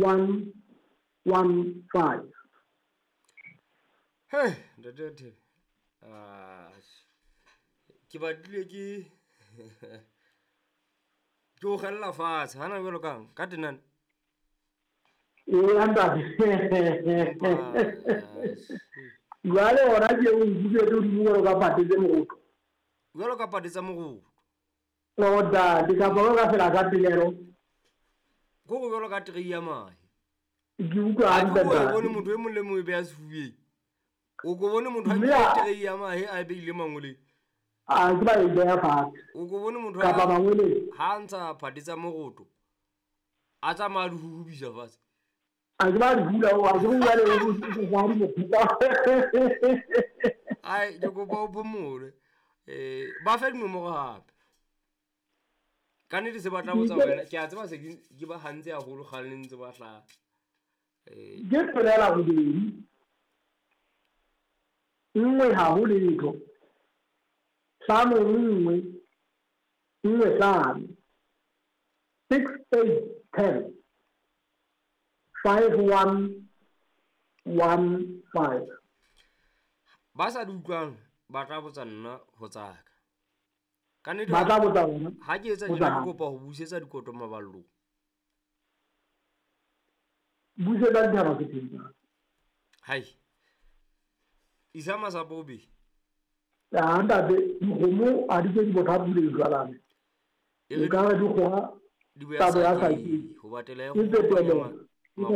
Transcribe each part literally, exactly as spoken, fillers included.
one one five. Hey, ntate Thebe. Ah, ke batlile ke ke o kgella fatshe hana jwalo kang ka tenane. Ee, ntate. Jwale hona ke o nkile hodimo jwalo ka phate tse mokoto. Jwalo ka phate tsa mokoto. O ntate, kapa jwalo ka fela ka pelelo. Ko go jwalo ka trei ya mahe. Ke utlwa hantle. Ha ke bone motho e mong le mong e beha sefubeng. O ko bone motho a nkile trei ya mahe a e beile mangoleng. A ke ba e beha fatshe. O ko bone motho kapa mangoleng ha ntsha phate tsa mokoto a tsamaya di huhubisa fatshe. A ke ba di hula o a ke bua le o ba di mophuta. Ai ke kopa o phomole. Eh ba fe dinomoro hape. Ka nnete se batla botsa wena ke a tseba se ke ba hantse haholo kgale le ntse ba hlaha. Eh ke tswelela robedi. Nngwe ha ho letho. Hlano nngwe nngwe hlano. Six eight ten. Five one one five. Ba sa di utlwang ba tla botsa nna ho tsaka. Ka nnete ba tla botsa wena. Ha ke etsa tjena ke kopa ho busetsa dikoto maballong. Busetsa dithaba ke teng. Hai. Isa masapo obe. Ah ntate, dikgomo ha di ke di botha pule jwalane. E ka re dikgoha di boya sa ke ho batela ya go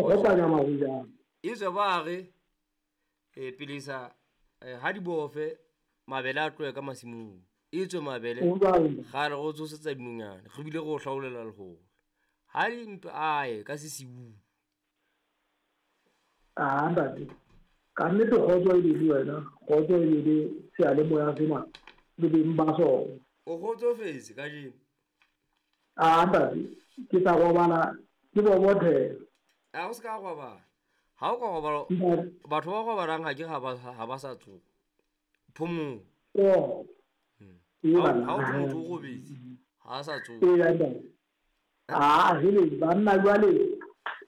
kopanya mahojana. E tswe ba re e pelesa ha di bofe mabele a tlohe ka masimong. E tswe mabele ga re go tsosetsa dinonyana re bile go hlaolela lehola. Ha di mpe aye ka sesiu. Ah ntate, ka nnete kgotso e le wena, kgotso e le seyalemoya sena le beng ba sona. O kgotsofetse kajeno? Ah ntate, ke tla robala ke bobothela. A o se ka robala. Ha o ka robala batho ba robalang ha ke ha ba ha ba sa tsoha. Phomolo. Oh. Ha o motho o robetse ha sa tsoha. Ee ntate. Ah hele banna jwale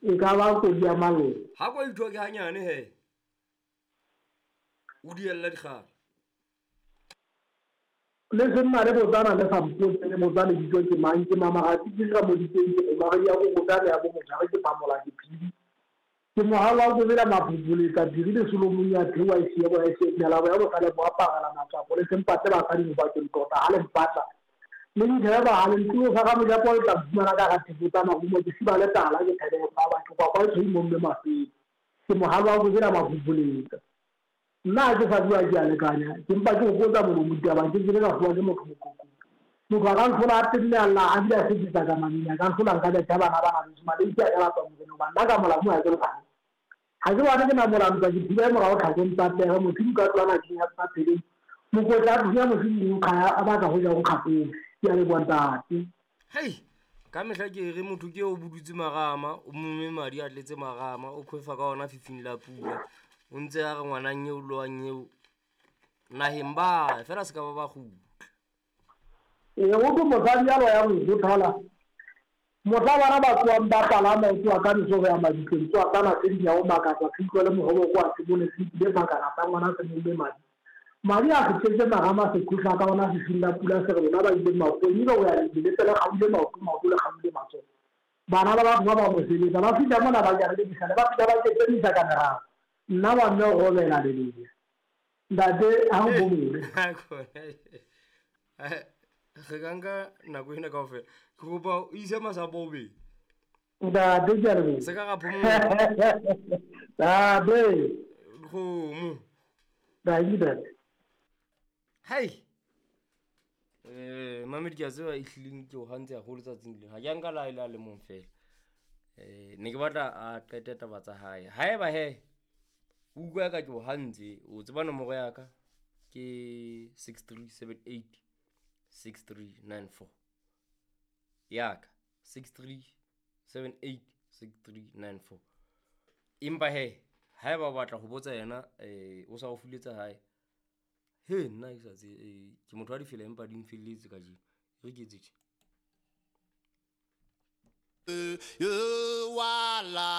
e ka ba kodi ya mallo. Ha ko itho ke hanyane he. O diella dikgala. Le senna le botsana le sa mpotse le botsana dijo ke mang ke mamagatsi ke ra moditseng ke mare ya go botsa ya bo mojare ke pamola ke phidi. Ke mohala wa go bela maphupuletsa dirile Solomon ya thewa e se bo e se mela ya bo sale bo apagala matsapo le sempatse ba sadi ba ke ntota ha le mpatla. Le dithebe ba ha le ntlo sa ga moja po tla fumana ka ga tibotsa mahumo ke siba le tala ke thebe ba batho kwa kwa tshwi mo mme mafedi. Ke mohala wa go bela maphupuletsa. Nna ke sa bua ke a lekanya ke mpa ke go botsa molomo ditaba ke ke ka fuwa ke motho mokoko. Motho a ka ntlhola a tenne a lla a bile a sekisa ka mamina ka ntlhola nka betha bana bana beso maleki a ka lapa motseng hoba nna ka molamu ha ke lwane. Ha ke bone ke na molamu ke thiba morao tlhakong tsa pere motho ka tlwana ke ya tsa pele. Mokotla a thunya mosidi o kgaya a batla ho ja go kgapong. Ke a leboha ntate. Hei, ka mehla ke re motho ke o budutse marama, o momme madi a tletse marama, o khwefa ka ona fifing la pula. O ntse a re ngwanang eo loang eo naheng ba fela se ka ba ba kgutla. Ee, o ke mosadi ya loyang ho thola. Mohla bana ba tsoang ba palama ho tsoa ka meso ho ya mabitleng, tsoa ka masedi ya ho makatsa, se utlwe le mohoboko wa se bone se ile makana sa ngwana se momme madi. Madi a se tletse marama se khutla ka ona fifing la pula se re lona ba ileng maotong, ebile o ya lebile le kgaule maoto, maoto le kgaule matsoho. Bana ba batho ba ba mo sebetsa, ba fihla mona ba jara le disale, ba fihla ba ketsemisa ka meraro. Nna wa mme o robela le leng. Ntate ha o bomole. Re ka nka nako ena kaofela. Ke kopa o ise masapo o beng. Ntate ke a leboha. Se ka ra phomola. Ntate. Kgomo. Ntate. Hai. Eh mamedi ke a tseba e hlileng ke o hantse haholo tsatsing lena. Ha ke a nka la e la le mong fela. Eh ne ke batla a qete taba tsa hae. Haeba he o utlwa ka ke o hantse, o tseba nomoro ya ka ke six three seven eight six three nine four. Ya ka six three seven eight six three nine four. Empa he haeba o batla ho botsa yena eh o sa o fuletsa hae. He nna ke sa tse ke motho wa difela empa di mfelletse kajeno. Re ke etse tje. You are